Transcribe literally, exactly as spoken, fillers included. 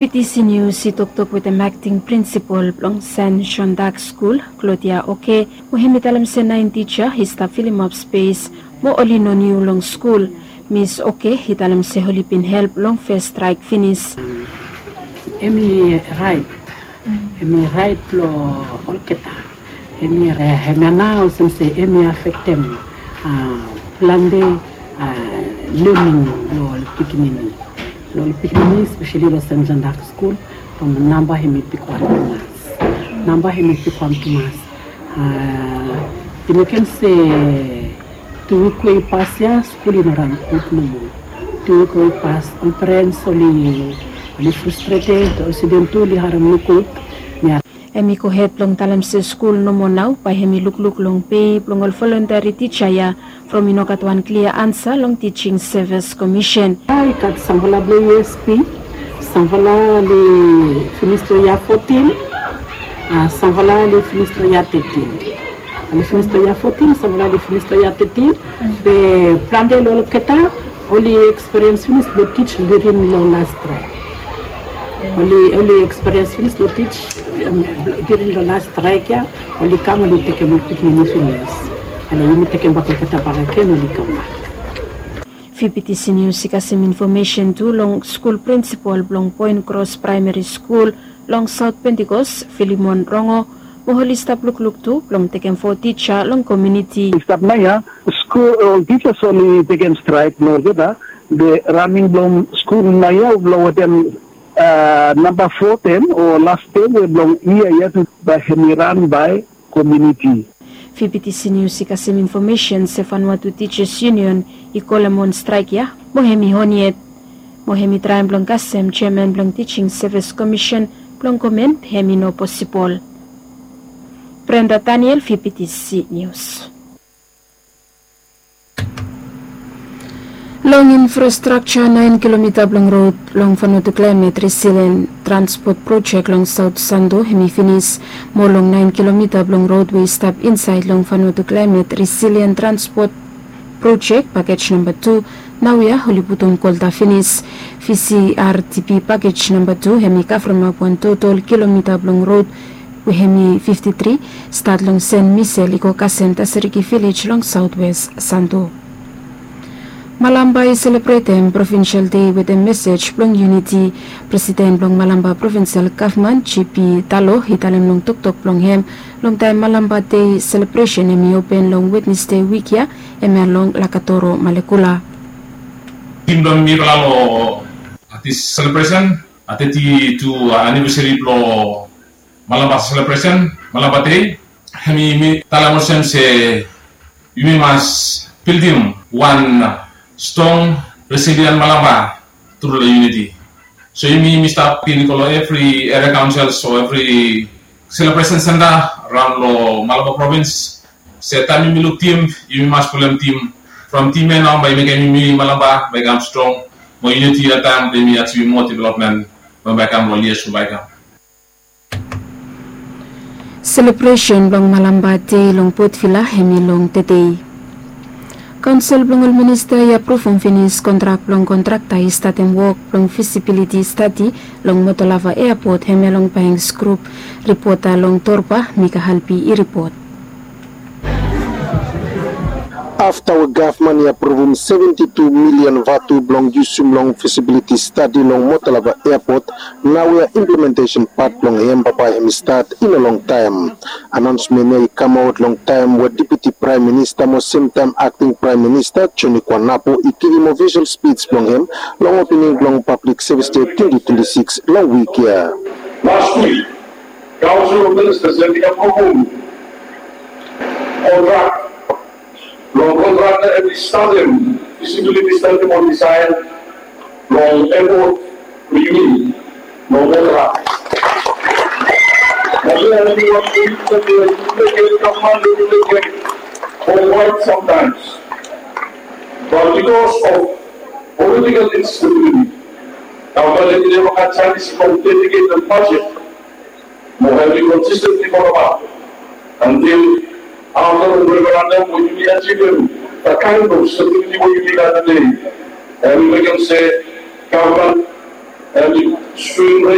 P T C News i toktok wetem akting prinsipal blong Sen Jon Dak Skul, Claudia Oke, we hemi talem se naen tija i stap filimap spes mo oli no niu long skul. Mis Oke i talem se oli bin help long fes straek finis. Hemi raet, hemi raet blong olgeta. Hemi anaos olsem se hemi afektem plante lening long ol pikinini, long ol pikinini espeseli long Sen Jon Dak Skul. From namba hemi bigwan tumas, namba hemi bigwan tumas. I mekem se tu wik we i pas ya skul i no ran gud nomo. Tu wik we i pas ol perens oli, oli frustreted, ol studen tu oli harem nogud. Hemi gohed blong talem se skul nomo nao bae hemi lukluk long pe blong ol volontiari tija ya from i no gat wan klia ansa long Teaching Service Commission. I gat samfala blong U S P, samfala oli finis long yia fotin, samfala oli finis long yia tetin. Oli finis long yia fotin, samfala oli finis long yia tetin. Be plante long olgeta oli ekspiriens finis blong tij during long las straek. Oli, oli ekspiriens finis blong tij during long las straek ya. Oli kam, oli tekem ol pikinini finis. Ale yumi tekem bak olgeta bakegen, oli kambak. Fi P T C News i kasem infomesen tu long skul prinsipal blong Point Cross Praemari Skul long Saot Pentikos, Filimon Rongo, mo oli stap lukluk tu blong tekem fo tija long komuniti. I stap naoia, skul, ol tijas oli tekem straek long olgeta. Be raning blong skul naoia blong wetem namba fotin o las de we blong yia ya tu bae hemi ran bae komuniti. Fi P T C News i kasem infomesen se Vanuatu Teachers Union i kolem wan straek ya mo hemi on yet. Mo hemi traem blong kasem jeaman blong Teaching Service Commission blong komen, hemi no posibol. Brenda Daniel, fi P T C News. Long infrastrakja, naen kilomita blong rod long Vanuatu Climate Resilient Transport Project long Saot Santo hemi finis. Mo long naen kilomita blong rod we i stap insaed long Vanuatu Climate Resilient Transport Project pakej namba tu, naoia oli putum kolta finis. V C R T P pakej namba tu hemi kavremap wan total kilomita blong rod we hemi fifti tri, stat long Sen Misel i go kasem Tasiriki Vilej long Saotwes Santo. Malampa i selebretem Provinsel Dei wetem mesej blong yuniti. Presiden blong Malampa Provinsel Gavman, J P Talo, i talem long toktok blong hem long taem Malampa Dei selebresen hemi open long Wednesde wik ya, hemia long Lakatoro, Malekula. Tim blong mifala long dis selebresen, teti tu anivesari blong Malampa selebresen, Malampa Dei, hemi talem olsem se yumi mas bildim wan strong, resilient Malampa tru long yuniti. So yumi, yumi stap i go long evri eria kaonsel o evri selebresen senta raon long Malampa provins. Se taem yumi luk tim, yumi mas pulem tim. From tim ya nao bae i mekem yumi Malampa bae i kam strong. Mo yuniti ya taem bae yumi achivim moa developmen, bae i kam long yias we bae i kam. Selebresen blong Malampa Dei long Port Vila hemi long tedei. Kaonsel blong ol minista i apruvum finis kontrak blong kontrakta i statem wok blong fisibiliti stadi long Motolava Eapot, hemia long Banks Grup. Ripota long Torba, Mika Halpi i ripot. Afta we gavman i apruvum seventi tu milian vatu blong yusum long fisibiliti stadi long Motolava Eapot, naoia implementesen pat blong hem bambae hemi stat i no longtaem. Anaonsmen ya i kamaot long taem we Deputi Praem Minista mo semtaem Akting Praem Minista Joni Kuanapu i givim ofisol spij blong hem long opening blong Pablik Sevis Dei twenti twenti sikis long wik ya. Las wik, Kaonsel of Ministas hemi apruvum kontrak blong kontrakta hemi statem fisibiliti stadi blong disaen blong eapot blong yumi long Motolava. Mo hemia hemi wan ting we yumi mekem, gavman blong yumi mekem for quite some times. But because of political instability, gavman hemi neva gat janis blong dediketem bajet mo hemi konsistentli folem ap antil afta long referendam we yumi ajivim dat kaen blong stabiliti we yumi gat tede. Hemi mekem se gavman Em i spring